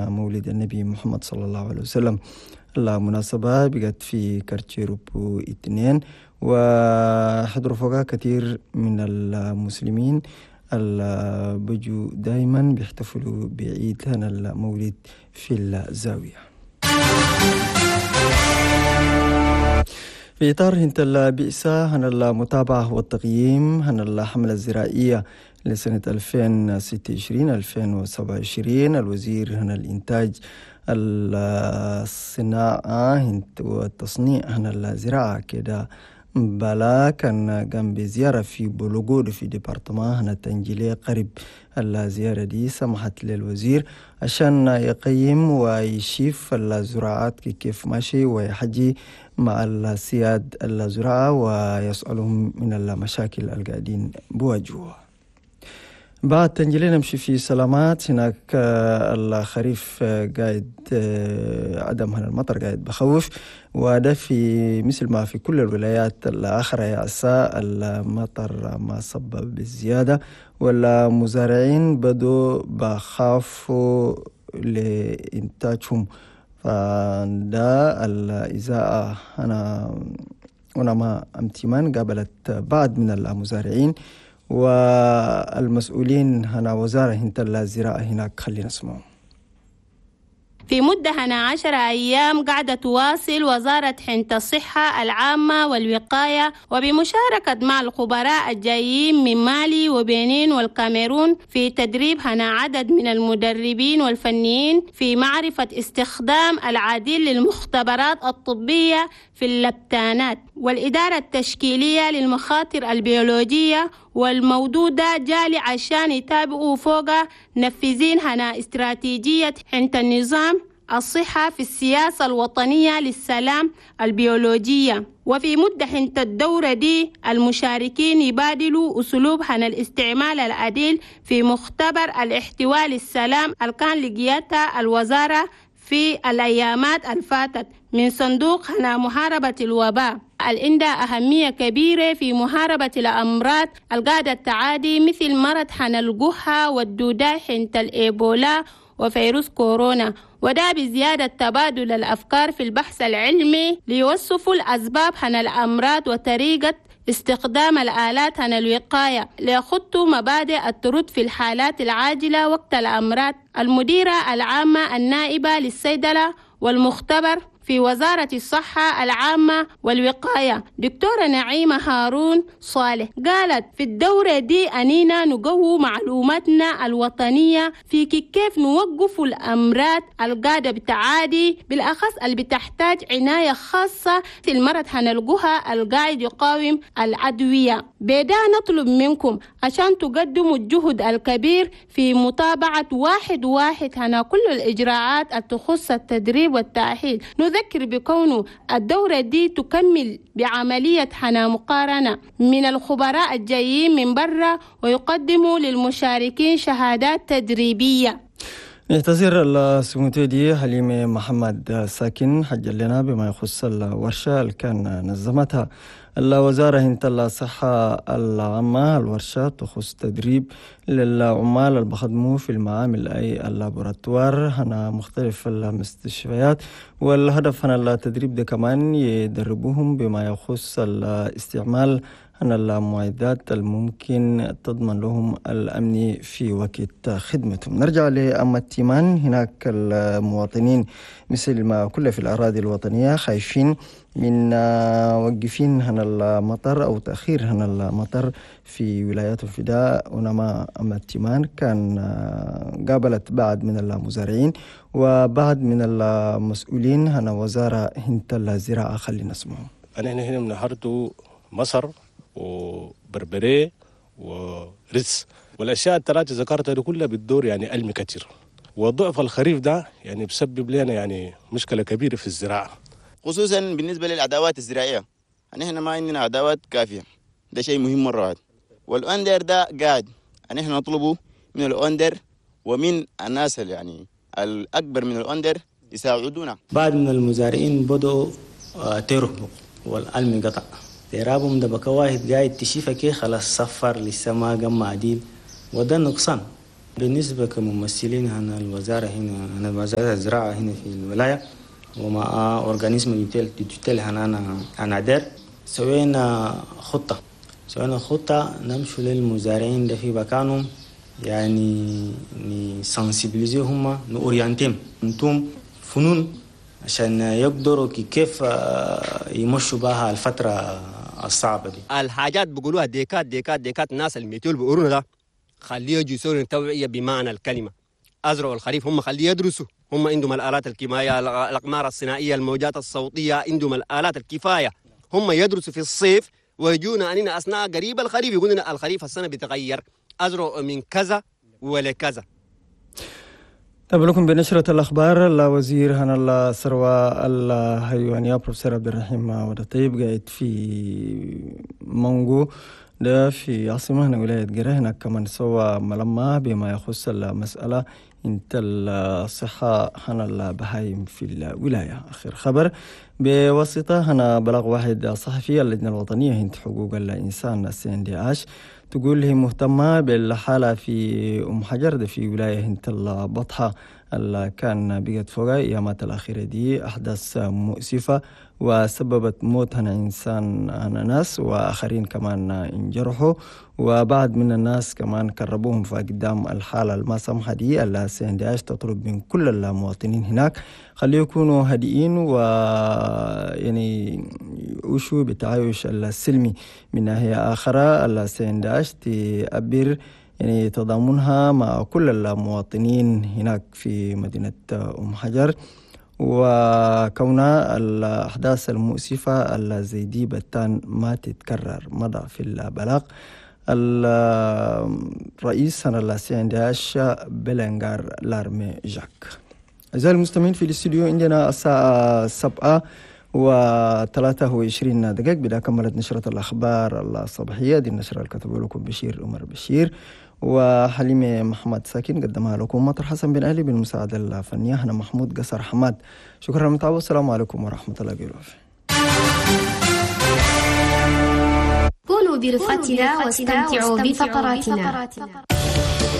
مولد النبي محمد صلى الله عليه وسلم. المناسبة بقت في كارتشيروبو 2، وحضروا فوقها كثير من المسلمين اللي بيجوا دايما بيحتفلوا بعيد هنا المولد في الزاوية. في إطار هنت البئسة هنا المتابعة والتقييم هنا الحملة الزراعية لسنة 2026-2027، الوزير هنا الإنتاج الصناعة والتصنيع هنا الزراعة كده بلا كان قام بزيارة في بولوغود في département هنا تنجيلي قريب. الزيارة دي سمحت للوزير عشان يقيم ويشيف الزراعات كيف ماشي ويحجي مع السياد الزراعة ويسألهم من المشاكل القاعدين بواجهوها. بعد تنجلي نمشي في سلامات. هناك الخريف قاعد عدم هنا المطر قاعد بخوف، وده في مثل ما في كل الولايات الأخرى يا عسى المطر ما صب بالزيادة، والمزارعين بدوا بخافوا لإنتاجهم، فده الإزاءة. أنا ما أمتمان قابلت بعض من المزارعين والمسؤولين هنا وزارة هنت الزراعة هناك، خلينا نسمعهم. في مدة هنا 10 أيام قاعدة تواصل وزارة حنت الصحة العامة والوقاية وبمشاركة مع الخبراء الجايين من مالي وبنين والكاميرون في تدريب هنا عدد من المدربين والفنيين في معرفة استخدام العديد للمختبرات الطبية في اللبتانات والإدارة التشكيلية للمخاطر البيولوجية والمودودة جالي عشان يتابعوا فوق نفذين هنا استراتيجية حنت النظام الصحة في السياسة الوطنية للسلام البيولوجية. وفي مدة حنت الدورة دي المشاركين يبادلوا أسلوب هنا الاستعمال العديل في مختبر الاحتواء للسلام اللي كان لقيتها الوزارة في الأيامات الفاتت من صندوق هنا محاربة الوباء العندها أهمية كبيرة في محاربة الأمراض القاعدة التعادي مثل مرض حنا الجحة والدودة حنت الإيبولا وفيروس كورونا، وده بزيادة تبادل الأفكار في البحث العلمي ليوصفوا الأسباب حنا الأمراض وطريقة استخدام الآلات عن الوقاية ليخطوا مبادئ الطرد في الحالات العاجلة وقت الأمراض. المديرة العامة النائبة للصيدلة والمختبر في وزارة الصحة العامة والوقاية دكتورة نعيمة هارون صالح قالت في الدورة دي أنينا نقوي معلوماتنا الوطنية في كيف نوقف الأمراض القادة بتعادي بالأخص اللي بتحتاج عناية خاصة في المرض هنلقوها القاعد يقاوم الأدوية. بدا نطلب منكم عشان تقدموا الجهد الكبير في متابعة واحد واحد هنا كل الإجراءات التخص التدريب والتأهيل. نذكر بكونه الدورة دي تكمل بعملية حنا مقارنة من الخبراء الجايين من برا ويقدموا للمشاركين شهادات تدريبية. نعتذر السموتي حليمة محمد ساكن حج لنا بما يخص الورشة اللي كان نظمتها الوزارة هنت الصحة العامة. الورشة تخص تدريب للعمال اللي بخدموا في المعامل أي اللابوراتوار هنا مختلف المستشفيات، والهدف هنا التدريب ده كمان يدربوهم بما يخص الاستعمال هنا المعدات الممكن تضمن لهم الأمن في وقت خدمتهم. نرجع لأم التيمان. هناك المواطنين مثل ما كل في الأراضي الوطنية خايفين من وقفين هنا المطر أو تأخير هنا المطر في ولايات الفداء. ونما أم التيمان كان قابلت بعض من المزارعين وبعض من المسؤولين هنا وزارة هنت الزراعة، خلينا نسمعهم. أنا هنا من هردو مصر وبربري ورز والاشياء الثلاثه ذكرتها دي كلها بتدور يعني ألم كثير، وضعف الخريف ده يعني بسبب لنا يعني مشكله كبيره في الزراعه، خصوصا بالنسبه للادوات الزراعيه. نحن ما عندنا ادوات كافيه، ده شيء مهم مره واحد. والاندر ده قاعد نحن نطلبه من الاندر ومن الناس اللي يعني الاكبر من الاندر يساعدونا. بعض من المزارعين بدأوا ترهبوا والألم قطع تيرابهم ده بقى واحد قاعد تشيفه كي خلاص صفر لسه ما قام عديل، وده نقصان. بالنسبة كممثلين هنا الوزارة هنا، هنا وزارة الزراعة هنا في الولاية ومع organisme de tutelle هنا ANADER، سوينا خطة نمشوا للمزارعين ده في مكانهم، يعني ن sensibiliser هم، ن orienter هم انتم فنون عشان يقدروا كيف يمشوا بها الفترة الصعبة دي. الحاجات بيقولوها ديكات ديكات ديكات، الناس ال météo بيقولونا ده خليه يجوا يسووا توعية بمعنى الكلمة. أزرعوا الخريف، هم خليه يدرسوا، هم عندهم الآلات الكيميائية، الأقمار الصناعية، الموجات الصوتية، عندهم الآلات الكفاية. هم يدرسوا في الصيف ويجونا أننا أثناء قريب الخريف يقولوا لنا الخريف السنة بيتغير، أزرعوا من كذا ولا كذا. طيب لكم بنشرة الأخبار. الوزير هنا الثروة الحيوانية بروفيسور عبد الرحيم ودطيب قاعد في مونغو ده في عاصمة هنا ولاية قرا. هناك كمان سوى ملمة بما يخص المسألة انت الصحة هنا البهايم في الولاية. آخر خبر بواسطة هنا بلاغ واحد صحفي، اللجنة الوطنية هنت حقوق الإنسان CNDH تقول هي مهتمة بالحالة في أم حجر ده في ولاية هنت البطحة اللي كان بقت فوق أيامات الأخيرة دي أحداث مؤسفة وسببت موت هنا إنسان هنا ناس وآخرين كمان انجرحوا، وبعد من الناس كمان كربوهم. فقدام الحالة الما سمحة دي ال CNDH تطلب من كل المواطنين هناك خليه يكونوا هادئين و يعني يعيشوا بالتعايش السلمي. من ناحية آخرى ال CNDH تعبر يعني تضامنها مع كل المواطنين هناك في مدينة أم حجر، وكون الأحداث المؤسفة الزي دي بتان ما تتكرر. مضى في البلاغ الرئيس هنا ال CNDH بلنغار لارمي جاك. أعزائي المستمعين في الاستوديو عندنا الساعة 7:23. بدا كملت نشرة الأخبار الصباحية دي. النشرة اللي كتبه لكم بشير عمر بشير وحليمة محمد ساكن، قدمها لكم مطر حسن بن علي بالمساعدة الفنية هنا محمود قصر حماد. شكرا للمتابعة والسلام عليكم ورحمة الله وبركاته. كونوا برفقتنا واستمتعوا بفقراتنا.